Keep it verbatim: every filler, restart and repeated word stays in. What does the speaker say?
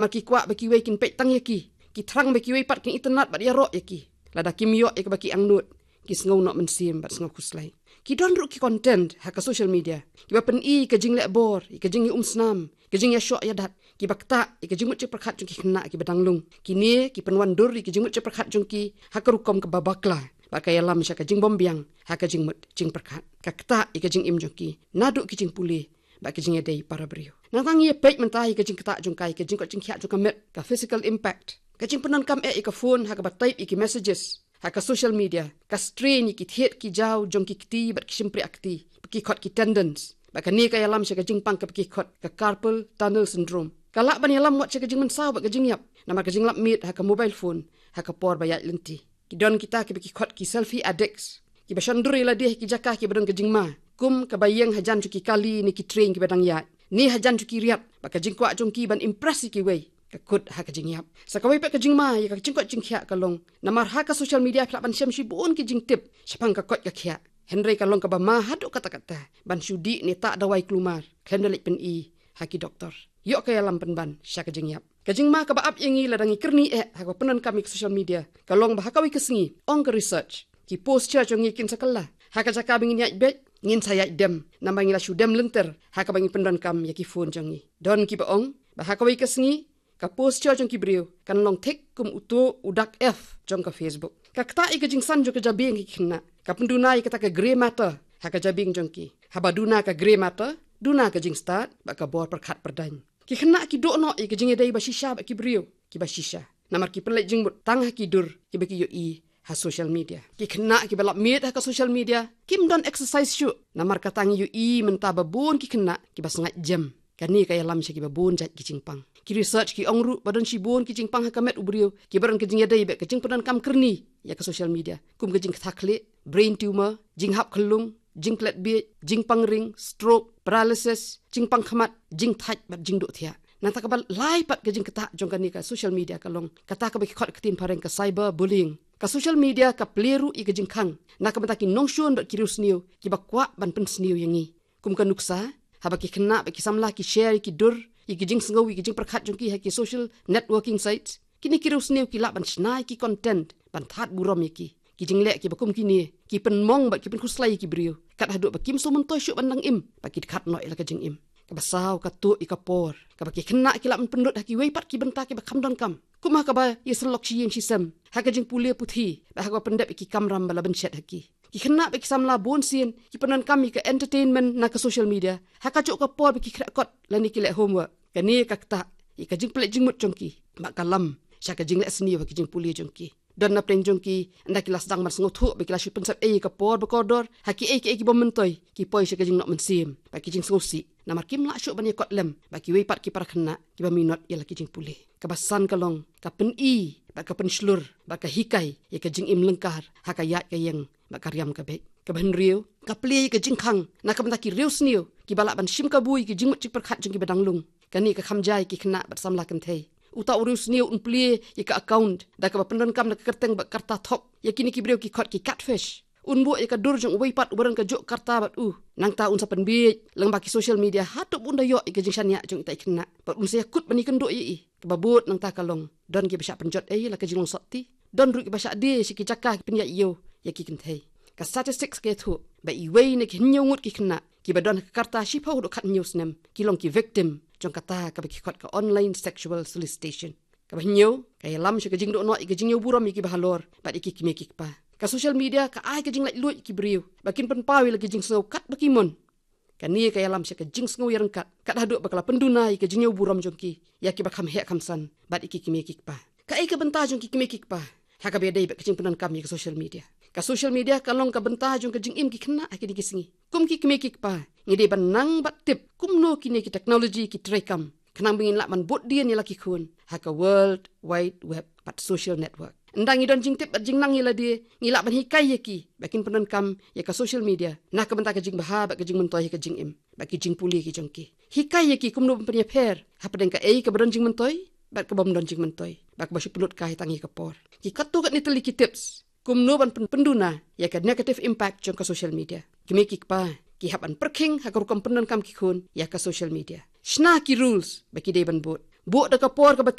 Namar ki kwah ba kiwei kin peit tang ïa ki, ki thrang ba kiwei pat kin itynnad bad ïaroh ïa ki. Lada kim ïoh ïa kaba ki angnud, ki sngew noh mynsiem bad sngew khuslai. Ki don ruh ki content ha ka social media kiba pyni ïa ka jingleh bor, ïa ka jingïaumsnam, ka jingïashoh ïadat, kiba ktah ïa ka jingmut jingpyrkhat jong ki khynnah kiba dang lung. Kine ki pynwandur ïa ka jingmut jingpyrkhat jong ki ha ka rukom kaba bakla, bad ka ïalam sha ka jingbymbiang ha ka jingmut jingpyrkhat. Ka ktah ïa ka jingim jong ki naduh ki jingpule bad ka jingïadei para briew. Nangta ngi ïa peit mynta ïa ka jingktah jong ka ïa ka jingkoit jingkhiah jong ka met, ka physical impact. Ka jingpyndonkam eh ïa ka phone ha kaba type ïa ki messages ha ka social media ka strain ïa ki thied ki jaw jong ki kti bad ki shympriah kti, ki khot ki tendons. Bad kane ka ïalam sha ka jingpang kaba ki khot ka carpal tunnel syndrome. Ka lah ban ïalam wat sha ka jingmynsaw bad ka jingïap namar ka jinglap miet ha ka mobile phone ha ka por ba ïaid lynti. Ki don kita kiba ki khot ki selfie addicts, kiba shon dur ïa lade ha ki jaka kiba don ka jingma, kum kaba ïeng hajan jong ki kali ne ki train kiba dang ïaid, ne hajan jong ki riat, bad ka jingkwah jong ki ban impress ïa kiwei, ka kut ha ka jingïap. Sa kawei pat ka jingma ïa ka jingkoit jingkhiah ka long namar ha ka social media phi lah ban shem shibun ki jingtip shaphang ka koit ka khiah, hynrei ka long kaba ma haduh katta katta ban shu dih ne tah dawai klumar khlem da leit pyni ha ki doktor. Ïoh ka ïalam pynban sha ka jingïap. Ka jingma kaba ap ïa ngi lada ngi kyrni eh ha kaba pyndonkam ïa ka social media ka long ba ha kawei ka sngi, ong ka research, ki posture jong ngi kin sa kylla. Ha ka jaka ba ngin ïaid beit, ngin sa ïaid dem, namar ngi la shu dem lynter ha kaba ngi pyndonkam ïa ki phone jong ngi. Don kiba ong ba ha kawei ka sngi ka posture jong ki briew kan long thik kum uto u dak F jong ka Facebook. Ka ktah ïa ka jingsan jong ka jabieng ki khynnah. Ka pynduna ïa kata ka grey matter ha ka jabieng jong ki. Haba duna ka grey matter, duna ka jingstad bad ka bor pyrkhat pyrdaiñ. Ki khynnah ki duh noh ïa ka jingïadei ba shisha bad ki briew kiba shisha namar ki pynleit jingmut tang ha ki dur kiba ki ïohi ha social media. Ki khynnah kiba lap miet ha ka social media kim don exercise shuh namar kata ngi ïohi mynta ba bun ki khynnah kiba sngaid jem. Kane ka ïalam sha kiba bun jait ki jingpang. Ki research ki ong ruh ba don shibun ki jingpang ha ka met u briew kiba don ka jingïadei bad ka jingpyndonkam kyrni ïa ka social media, kum ka jingktha khlieh, brain tumor, jinghap khyllung, jingklet biej, jingpang ring, stroke, paralysis, jingpang khmat, jingthait bad jingduh thiah. Nangta kaba lai pat ka jingktah jong kane ka social media ka long kata kaba ki khot ka ktien phareng ka cyber bullying. Ka social media ka plie ruh ïa ka jingkhang na ka bynta ki nongshun bad ki riewsniew kiba kwah ban pynsniew ïa ngi. Kum ka nuksa, haba ki khynnah bad ki samla ki share ïa ki dur, ïa ki jingsngew, ïa ki jingpyrkhat jong ki ha ki social networking sites, kine ki riewsniew ki lah ban shna ïa ki content ban thad burom ïa ki. Ki jingleh kiba kum kine ki pynmong bad ki pynkhuslai ïa ki briew, kat haduh ba kim sngewmyntoi shuh ban dang im, ba ki dkhat noh ïa la ka jingim. Kaba saw, ka tuh ïa ka por kaba ki khynnah ki lah ban pynlut ha kiwei pat ki bynta kiba kham donkam, kum ha kaba ïasyllok shi ïing shi sem, ha ka jingpule puthi bad ha kaba pyndep ïa ki kamram ba la bynshet ha ki. Ki khynnah bad ki samla bun sien ki pyndonkam ïa ka entertainment na ka social media ha kajuh ka por ba ki khreh kot lane ki leh homework. Kane ka ktah ïa ka jingpynleit jingmut jong ki bad ka lam sha ka jingleh sniew ha ka jingpule jong ki. Don na pdeng jong ki, ynda ki la sdang ban sngewthuh ba ki la shu pynsep ei ïa ka por ba kordor ha kiei kiei ki bym myntoi, ki poi sha ka jingnoh mynsiem bad ki jingsngewsih namar kim lah shuh ban ïakot lem bad kiwei pat ki para khynnah kiba minot ïa la ki jingpule. Kaba san ka long ka pyni bad ka pynshlur bad ka hikai ïa ka jingim lyngkar ha ka ïaid ka ïeng bad ka riam ka beit. Kaba hynriew, ka plie ïa ka jingkhang na ka bynta ki riewsniew kiba lah ban shim kabu ïa ki jingmut jingpyrkhat jong kiba dang lung. Kane ka kham jia ïa ki khynnah bad samla kynthei. Uta u riewsniew un plie ïa ka account da kaba pyndonkam da ka kyrteng bad karta thok ïa kine ki briew ki khot ki catfish. Un buh ïa ka dur jong uwei pat uba don kajuh karta bad u. Nangta un sa pynbieit lyngba ki social media haduh ba un da ïoh ïa ka jingshaniah jong ita i khynnah bad un sa ïakut ban ïakynduh ïa i. Kaba bud nangta ka long, don kiba shah pynjot ei la ka jinglong sotti, don ruh kiba shah die sha ki jaka ki pynïaid ïew ïa ki kynthei. Ka statistics ka ïathuh ba iwei na ki hynñiew ngut ki khynnah kiba don ha ka karta shiphew haduh khathynñiew snem ki long ki victim jong kata kaba ki khot ka online sexual solicitation. Kaba hynñiew, ka ïalam sha ka jingduh noh ïa ka jingïew burom ïa kiba halor bad ïa ki kmie ki kpa. Ka social media ka ai ka jinglaitluid ïa ki briew ba kin pynpaw ïa la ki jingsngew kat ba ki mon. Kane ka ïalam sha ka jingsngew ïaryngkat kat haduh ba ka la pynduna ïa ka jingïew burom jong ki ïa kiba kham heh kham san bad ïa ki kmie ki kpa. Kaei ka bynta jong ki kmie ki kpa ha kaba ïadei bad ka jingpyndonkam ïa ka social media? Ka social media ka long ka bynta jong ka jingim ki khynnah ha kine ki sngi. Kum ki kmie ki kpa, ngi dei ban nang bad tip kumno kine ki technology ki treikam khnang ba ngin lah ban bud dien ïa la ki khun ha ka World Wide Web bad social network. Ynda ngi don jingtip bad jingnang ïa lade, ngi lah ban hikai ïa ki ba kin pyndonkam ïa ka social media na ka bynta ka jingbha bad ka jingmyntoi ha ka jingim bad ki jingpule ki jong ki. Hikai ïa ki kumno ban pynïapher hapdeng kaei kaba don jingmyntoi bad kaba ym don jingmyntoi bad kaba shu pynlut kai tang ïa ka por. Ki katto katne tylli ki tips kumno ban pyn-, pynduna ïa ka negative impact jong ka social media. Ki kmie ki kpa ki hap ban pyrkhing ha ka rukom pyndonkam ki khun ïa ka social media. Shna ki rules ba ki dei ban bud. buh da ka por kaba